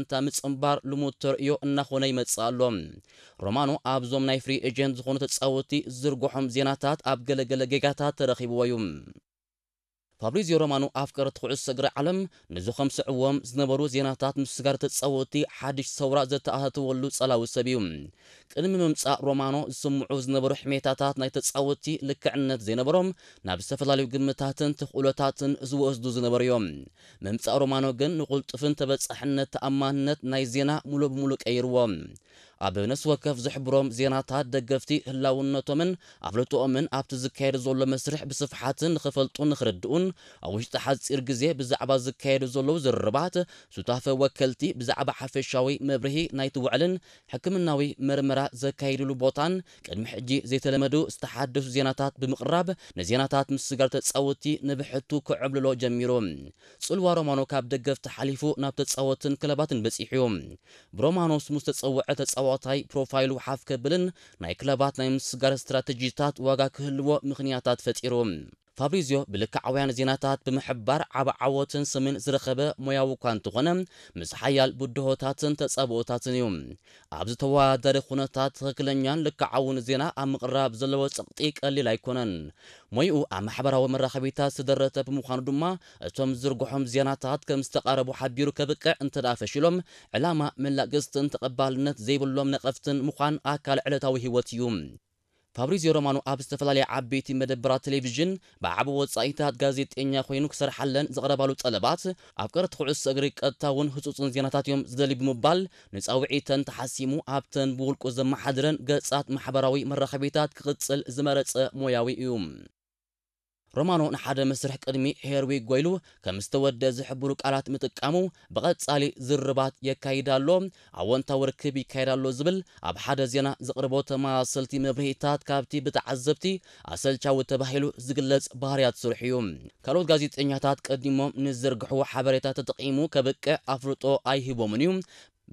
እንታ ምጽንባር ልሙድ ተርእዮ እናኾነ ይመጽእ ኣሎ። ሮማኖ ኣብዞም ናይ ፍሪ ኤጀንት ዝኾኑ ተጻወትቲ ዝርግሖም ዜናታት ኣብ ገለገለ ጌጋታት ተረኺብዎ እዩ። ፋብሪዚዮ ሮማኖ ኣፍቀርቲ ኩዕሶ እግሪ ዓለም ነዚ ከምስዕዎም ዝነበሩ ዜናታት ምስጋር ተጻወትቲ ሓድሽ ሰውራ ዘተኣታተወሉ ጸላዊ ሰብ እዩ። ቅድሚ ምምጻእ ሮማኖ ዝስምዑ ዝነበሩ ሕሜታታት ናይ ተጻወትቲ ልክዕነት ዘይነበሮም ናብ ዝተፈላለዩ ግምታትን ተኽእሎታትን ዝወስዱ ዝነበሩ እዮም። ምምጻእ ሮማኖ ግን ንቕልጡፍን ተበጻሕነት ተኣማንነት ናይ ዜና ሙሉእ ብሙሉእ ቀይርዎ። ኣብ ነፍሲ ወከፍ ዝሕብሮም ዜናታት ደገፍቲ ህላውነቶምን ኣፍልጦኦምን ኣብቲ ዝካየድ ዘሎ መስርሕ ብስፍሓትን ንኽፈልጡ ንኽርድኡን ኣብ ውሽጢ ሓጺር ግዜ ብዛዕባ ዝካየዱ ዘለዉ ዝርርባት ሱታፈ ወከልቲ ብዛዕባ ሓፈሻዊ መብርሂ ናይቲ ውዕልን ሕክምናዊ መርመራ ዘካይድሉ ቦታን ቅድሚ ሕጂ ዘይተለመዱ ዝተሓደሱ ዜናታት ብምቕራብ ንዜናታት ምስጋር ተጻወትቲ ንብሕቱ ክዕብልሎ ጀሚሩ። ጽልዋ ሮማኖ ካብ ደገፍቲ ሓሊፉ ናብ ተጻወትን ክለባትን በጺሑ እዩ። ብሮማኖ ስሙ ዝተጸውዐ ተጻዋታይ ፕሮፋይሉ ሓፍ ከብልን ናይ ክለባት ናይ ምስጋር ስትራተጂታት ዋጋ ክህልዎ ምኽንያታት ፈጢሩ። ፋብሪዚዮ ብልክዓውያን ዜናታት ብምሕባር ዓቢ ዓወትን ስምን ዝረኸበ ሞያዊ እኳ እንተኾነ፣ ምስ ሓያል ብድሆታትን ተጻብኦታትን እዩ። ኣብዚ ተወዳዳሪ ኩነታት ትኽክለኛን ልክዓውን ዜና ኣብ ምቕራብ ዘለዎ ጸቕጢ ቀሊል ኣይኮነን። ሞይኡ ኣብ ማሕበራዊ መራኸቢታት ዝተደረተ ብምዃኑ ድማ፣ እቶም ዝርግሖም ዜናታት ከም ዝተቓረቡ ሓቢሩ ከብቅዕ እንተ ደኣ ፈሺሎም፣ ዕላማ መላግስትን ተቐባልነት ዘይብሎም ነቐፍትን ምዃን ኣካል ዕለታዊ ህይወት እዩ። ፋብሪዚዮ ሮማኖ ኣብ ዝተፈላለያ ዓበይቲ መደበራት ቴሌቪዥን ብዓቢ ወጻኢታት ጋዜጠኛ ኮይኑ ክሰርሓለን ዝቐረባሉ ጠለባት፣ ኣፍቀርቲ ኩዕሶ እግሪ ቀጥታውን ህጹጽን ዜናታት እዮም ዝደልዩ ብምባል፣ ንጻውዒተን ተሓሲሙ ኣብተን ብውልቁ ዘመሓድረን ገጻት ማሕበራዊ መራኸቢታት ክቕጽል ዝመረጸ ሞያዊ እዩ። ሮማኖ ንሓደ መስርሕ ቅድሚ ሄርዊግ ጎይሉ ከም ዝተወደ ዝሕብሩ ቃላት ምጥቃሙ ብቐጻሊ ዝርርባት የካይድ ኣሎ፣ ኣወንታዊ ርክብ ይካየድ ኣሎ ዝብል ኣብ ሓደ ዜና ዘቕርቦ ተመሳሰልቲ መብርሂታት ካብቲ ብተዓዘብቲ ኣሰልቻዊ ተባሂሉ ዝግለጽ ባህርያት ስርሑ እዩ። ካልኦት ጋዜጠኛታት ቀዲሞም ንዝርግሕዎ ሓበሬታ ተጠቒሙ ከብቅዕ ኣፍልጦ ኣይህቦምን እዩ።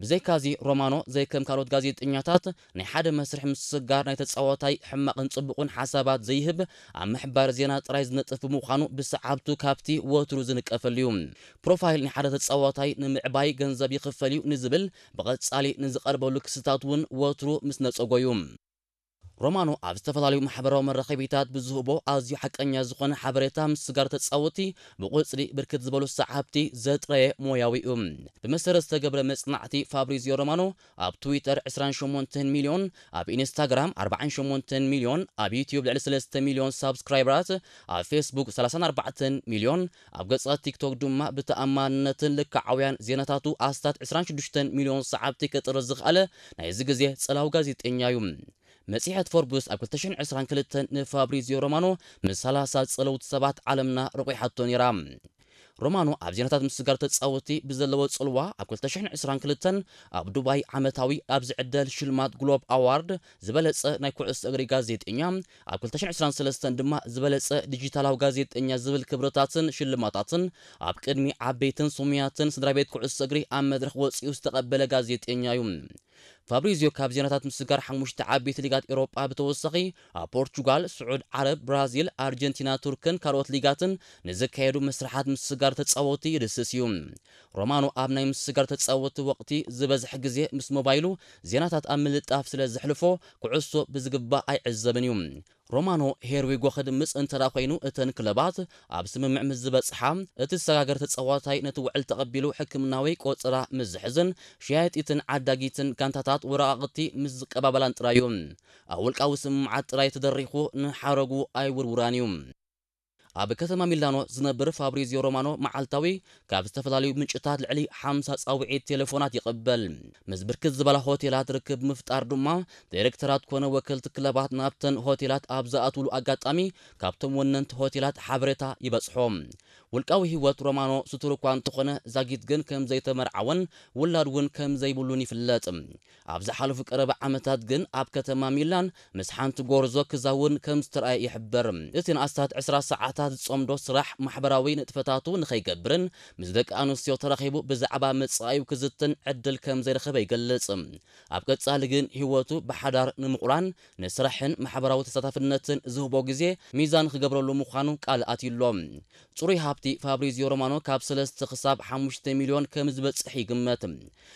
ብዘይካዚ ሮማኖ ዘይከም ካልኦት ጋዜጠኛታት ናይ ሓደ መስርሕ ምስጋር ናይ ተጻዋታይ ሕማቕን ጽቡቕን ሓሳባት ዘይህብ ኣብ ምሕባር ዜና ጥራይ ዝነጥፍ ብምዃኑ ብሰዓብቱ ካብቲ ወትሩ ዝንቀፈሉ እዩ። ፕሮፋይል ናይ ሓደ ተጻዋታይ ንምዕባይ ገንዘብ ይኽፈል እዩ ንዝብል ብቐጻሊ ንዝቐርበሉ ክስታት እውን ወትሩ ምስ ነጸጎ እዩ። ሮማኖ ኣብ ዝተፈላለዩ ማሕበራዊ መራኸቢታት ብዝህቦ ኣዝዩ ሓቀኛ ዝኾነ ሓበሬታ ምስጋር ተጻወቲ ብቑጽሪ ብርክት ዝበሉ ሰዓብቲ ዘጥረየ ሞያዊ እዩ። ብመሰረት ዝተገብረ መጽናዕቲ ፋብሪዚዮ ሮማኖ ኣብ ትዊተር ዕስራን ሸሞንተን ሚልዮን፣ ኣብ ኢንስታግራም ኣርባዓን ሸሞንተን ሚልዮን፣ ኣብ ዩትዩብ ልዕሊ ሰለስተ ሚልዮን ሳብስክራይበራት፣ ኣብ ፌስቡክ ሰላሳን ኣርባዕተን ሚልዮን፣ ኣብ ገጻት ቲክቶክ ድማ ብተኣማንነትን ልክዓውያን ዜናታቱ ኣስታት ዕስራን ሽዱሽተን ሚልዮን ሰዓብቲ ክጥርዝ ዝኽኣለ ናይዚ ግዜ ጸላዊ ጋዜጠኛ እዩ። መጽሔት ፎርብስ ኣብ ክልተ ሽሕን ዕስራን ክልተን ንፋብሪዚዮ ሮማኖ ምስ ሰላሳ ጸለውቲ ሰባት ዓለምና ረቑሓቶ ነይራ። ሮማኖ ኣብ ዜናታት ምስጋር ተጻወቲ ብዘለዎ ጽልዋ ኣብ ክልተ ሽሕን ዕስራን ክልተን ኣብ ዱባይ ዓመታዊ ኣብ ዝዕደል ሽልማት ግሎብ ኣዋርድ ዝበለጸ ናይ ኩዕሶ እግሪ ጋዜጠኛ፣ ኣብ ክልተ ሽሕን ዕስራን ሰለስተን ድማ ዝበለጸ ዲጂታላዊ ጋዜጠኛ ዝብል ክብርታትን ሽልማታትን ኣብ ቅድሚ ዓበይትን ስሙያትን ስድራ ቤት ኩዕሶ እግሪ ኣብ መድረኽ ወጺኡ ዝተቐበለ ጋዜጠኛ እዩ። ፋብሪዚዮ ካብ ዜናታት ምስጋር ሓሙሽተ ዓበይቲ ሊጋት ኤውሮጳ ብተወሳኺ ኣብ ፖርቹጋል፣ ስዑድ ዓረብ፣ ብራዚል፣ ኣርጀንቲና፣ ቱርክን ካልኦት ሊጋትን ንዝካየዱ መስርሓት ምስጋር ተጻወቲ ይድስስ እዩ። ሮማኖ ኣብ ናይ ምስጋር ተጻወቲ ወቕቲ ዝበዝሕ ግዜ ምስ ሞባይሉ ዜናታት ኣብ ምልጣፍ ስለ ዘሕልፎ ኩዕሶ ብዝግባእ ኣይዕዘብን እዩ። ሮማኖ ሄርዊጎ ክድምጽ እንተ ደኣ ኮይኑ እተን ክለባት ኣብ ስምምዕ ምስ ዝበጽሓ እቲ ዝሰጋገር ተጻዋታይ ነቲ ውዕል ተቐቢሉ ሕክምናዊ ቆጸራ ምስ ዝሕዝን ሸያጢትን ዓዳጊትን ጋንታታት ወረቓቕቲ ምስ ዝቀባበላን ጥራይ እዩ። ኣብ ውልቃዊ ስምምዓት ጥራይ ተደሪኹ ንሓረጉ ኣይውርውራን እዩ። ኣብ ከተማ ሚላኖ ዝነብር ፋብሪዚዮ ሮማኖ መዓልታዊ ካብ ዝተፈላለዩ ምንጭታት ልዕሊ ሓምሳ ጻውዒት ቴሌፎናት ይቕበል። ምስ ብርክት ዝበላ ሆቴላት ርክብ ምፍጣር ድማ ዳይሬክተራት ኮነ ወከልቲ ክለባት ናብተን ሆቴላት ኣብ ዝኣትውሉ ኣጋጣሚ ካብቶም ወነንቲ ሆቴላት ሓበሬታ ይበጽሖ። ውልቃዊ ህይወት ሮማኖ ስቱር እኳ እንተኾነ ዛጊት ግን ከም ዘይተመርዓወን ውላድ እውን ከም ዘይብሉን ይፍለጥ። ኣብ ዝሓለፉ ቀረባ ዓመታት ግን ኣብ ከተማ ሚላን ምስ ሓንቲ ጎርዞ ክዛውን ከም ዝተረኣየ ይሕበር። እቲ ንኣስታት ዕስራ ሰዓታት ዝጸምዶ ስራሕ ማሕበራዊ ንጥፈታቱ ንኸይገብርን ምስ ደቂ ኣንስትዮ ተራኺቡ ብዛዕባ መጻኢኡ ክዝትን ዕድል ከም ዘይረኸበ ይገልጽ። ኣብ ቀጻሊ ግን ህይወቱ ብሓዳር ንምቑራን ንስራሕን ማሕበራዊ ተሳታፍነትን ዝህቦ ግዜ ሚዛን ክገብረሉ ምዃኑ ቃል ኣትዩሎ። ጽሩይ ሃብቲ ፋብሪዚዮ ሮማኖ ካብ ሰለስተ ክሳብ ሓሙሽተ ሚልዮን ከም ዝበጽሕ ይግመት።